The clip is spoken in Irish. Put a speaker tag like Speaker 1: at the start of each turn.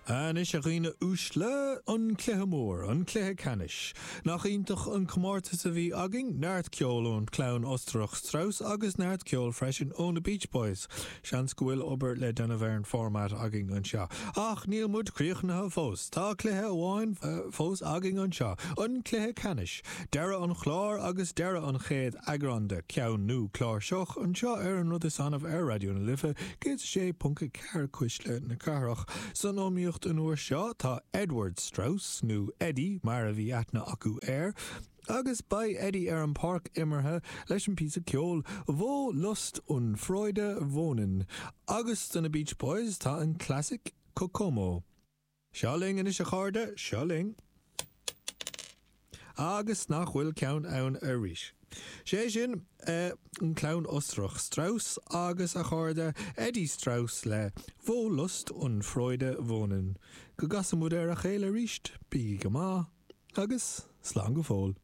Speaker 1: Anois a dhaoine uaisle, an cluiche mór, an cluiche ceannais. Nach iontach an comórtas a bhí againn, neart ceoil ón chlann Ostarach Strauss agus neart ceoil freisin ó na Beach Boys. Seans go bhfuil obair le déanamh ar an format againn anseo. Ach níl muid críochnaithe fós. Tá cluiche amháin fós againn anseo, an cluiche ceannais. Deireadh an chláir agus deireadh an chéad eagrán de Ceann nó Cláirseach anseo ar An Rud Is Annamh ar Raidió na Life 106.4. Cuisle na Cathrach. San iomaíocht an uair seo tá Edward Strauss, nó Eddie mar a bhí aithne acu air, agus beidh Eddie ar an pháirc imeartha leis an píosa ceoil Wo Lust und Freude wohnen agus do na Beach Boys tá an clasaic Kokomo. Seo linn anois a chairde, seo linn. Agus nach bhfuil ceann ann arís. Sé sin, an clann Ostarach Strauss agus a chairde Eddie Strauss le Wo Lust und Freude wohnen. Go gcasa muid ar a chéile arís, bígí go maith, agus slán go fóill.